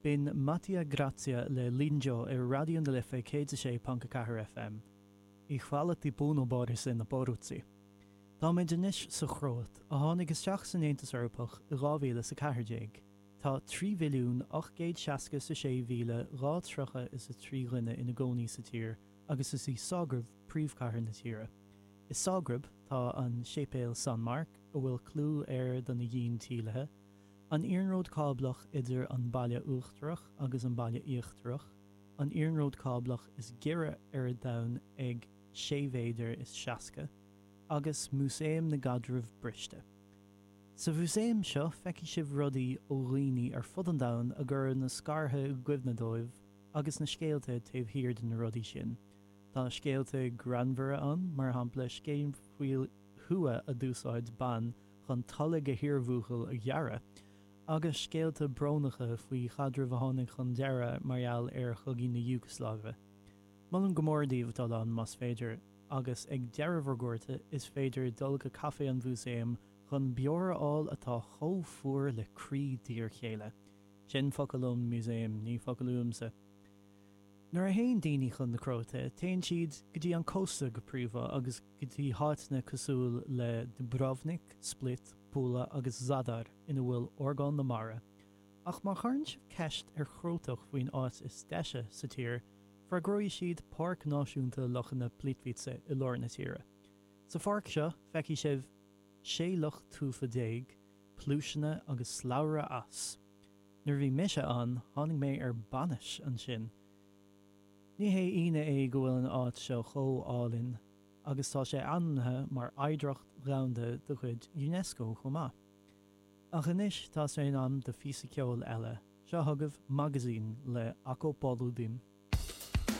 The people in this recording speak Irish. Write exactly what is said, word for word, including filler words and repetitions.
B'in Mattia Grazia le Linjo ar Raidió na Life céad a sé ponc a ceathair FM. I hvala ti puno Borise na poruci. Táimid anois sa Chróit, a tháinig isteach san Aontas Eorpach i dhá mhíle is a ceathair déag. Tá trí mhilliún ocht gcéad seasca is a sé mhíle dhá tríocha is a trí dhuine ina gcónaí sa tír agus is í Ságrab príomhchathair na tíre. I Ságrab tá an Séipéal San Marc, a bhfuil clú air do na dhíon tílithe, an iarnród cáblach idir an Baile Uachtarach agus an Baile Íochtarach, an iarnród cáblach is giorra ar domhan ag sé mhéadar is seasca, agus Músaem na gCaidreamh Briste. Sa mhúsaem seo feicfidh sibh rudaí ó dhaoine ar fud an domhain a gcuireann na scartha i gcuimhne dóibh agus na scéalta taobh thiar de na rudaí sin. Tá scéalta greannmhara ann, mar shampla scéal faoi thua a d'úsáid bean chun tolg a hiarbhuachaill a ghearradh, agus scéalta brónacha faoi chaidrimh a tháinig chun deireadh mar gheall ar chogaí na Iúgasláive. Molaim go mór daoibh dul ann más féidir, agus ag deireadh bhur gcuairte is féidir dul go caifé an mhúsaeim chun beoir a fháil atá chomh fuar le croí d'iarchéile. Sin focal ón músaem, ní focal uaimse. Nuair a théann daoine chun na Cróite, téann siad go dtí an cósta go príomha agus go dtí háiteanna cosúil le Dubrovnik, Split, Pula agus Zadar ina bhfuil orgán na mara. Ach má chuireann sibh ceist ar Chrótach faoin áit is deise sa tír, freagróidh siad Páirc Náisiúnta Lochanna Plitvice i lár na tíre. Sa pháirc seo, feicfidh sibh sé loch tufa déag, pluaiseanna agus slabhra eas. Nuair a bhí mise ann, tháinig mé ar bainis ansin. Ní hé ionadh é go bhfuil an áit seo chomh álainn agus tá sé ainmnithe mar Oidhreacht Dhomhanda de chuid UNESCO chomh maith. Ach anois tá sé in am do phíosa ceoil eile, seo chugaibh Magazin le Ako Poludim.